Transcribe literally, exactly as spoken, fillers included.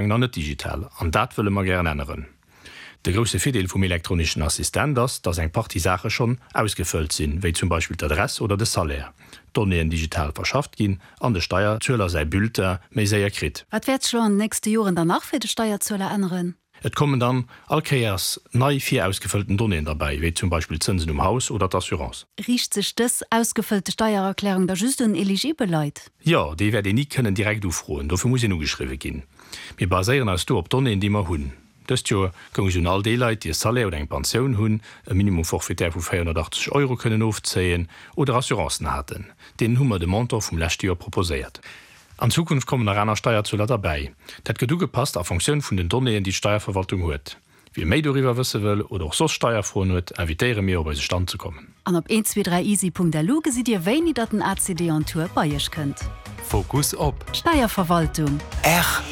Nach net digital, an dat wëlle mer gären änneren. De grousse Virdeel vum elektronischen Assistent ass, dass eng Partie Saache schonn ausgefëllt sinn, wéi zum Beispill d'Adress oder de Salaire. D'Donnéeën digital verschafft ginn an de Steierzueler säi Bulletin méi séier kritt. Wat wäert sech lo an den nächste Joren dann nach fir de Steierzueler änneren? Et kommen dann all Kéiers nei virausgefëllten Donnéeën derbäi, wéi zum Beispill d'Zënsen um Haus oder d'Assurance. Riicht sech dës ausgefëllte Steiererklärung da just un eligibel Leit? Jo, déi wäert een ni kënnen direkt ufroen, dofir muss een ugeschriwwe ginn. Mir baséieren eis do op Donnéeën, déi mer hunn. Dëst Joer goung se un all déi Leit, déi e Salaire oder eng Pensioun hunn, e Minimum forfaitaire vu véierhonnertachtzeg Euro kënnen ofzéien oder Assurancen haten. Deenen hu mer de Montant vum leschte Joer proposéiert. An Zukunft kommen nach aner Steierzueler derbäi. Dat gëtt ugepasst a Funktioun vun den Donnéeën, déi d'Steierverwaltung huet. Wie méi doriwwer wësse wëll oder och soss Steierfroen huet, invitéiere mir op eise Stand ze kommen. An op eent zwee dräi easy Punkt lu gesitt Dir wéini datt den A C D on Tour bei Iech kënnt. Fokus op d'Steierverwaltung. R.